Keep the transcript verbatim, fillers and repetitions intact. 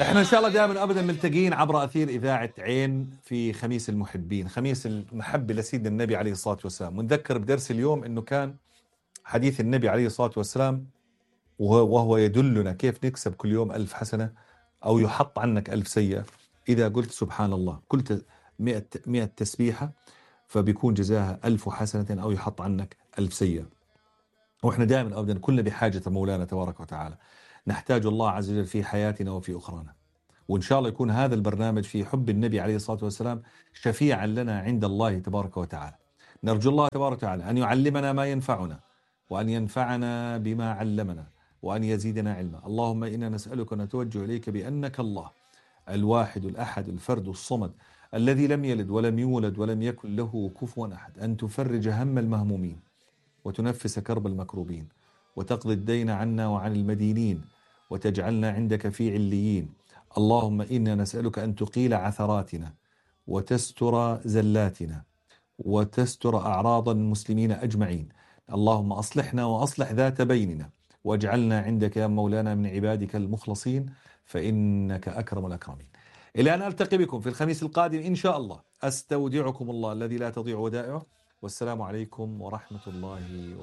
احنا ان شاء الله دائما ابدا ملتقين عبر اثير اذاعه عين في خميس المحبين، خميس المحبه لسيدنا النبي عليه الصلاه والسلام. ونذكر بدرس اليوم انه كان حديث النبي عليه الصلاه والسلام وهو يدلنا كيف نكسب كل يوم ألف حسنه او يحط عنك ألف سيئه. اذا قلت سبحان الله، قلت مئة مئة تسبيحه فبيكون جزاها ألف حسنه او يحط عنك ألف سيئه. واحنا دائما ابدا كلنا بحاجه مولانا تبارك وتعالى، نحتاج الله عز وجل في حياتنا وفي اخرانا. وإن شاء الله يكون هذا البرنامج في حب النبي عليه الصلاة والسلام شفيعا لنا عند الله تبارك وتعالى. نرجو الله تبارك وتعالى أن يعلمنا ما ينفعنا، وأن ينفعنا بما علمنا، وأن يزيدنا علما. اللهم إنا نسألك ونتوجه إليك بأنك الله الواحد الأحد الفرد الصمد الذي لم يلد ولم يولد ولم يكن له كفوا أحد، أن تفرج هم المهمومين وتنفس كرب المكروبين وتقضي الدين عنا وعن المدينين وتجعلنا عندك في عليين. اللهم إنا نسألك أن تقيل عثراتنا وتستر زلاتنا وتستر أعراض المسلمين أجمعين. اللهم أصلحنا وأصلح ذات بيننا واجعلنا عندك يا مولانا من عبادك المخلصين، فإنك أكرم الأكرمين. إلى أن ألتقي بكم في الخميس القادم إن شاء الله، أستودعكم الله الذي لا تضيع ودائعه، والسلام عليكم ورحمة الله وبركاته.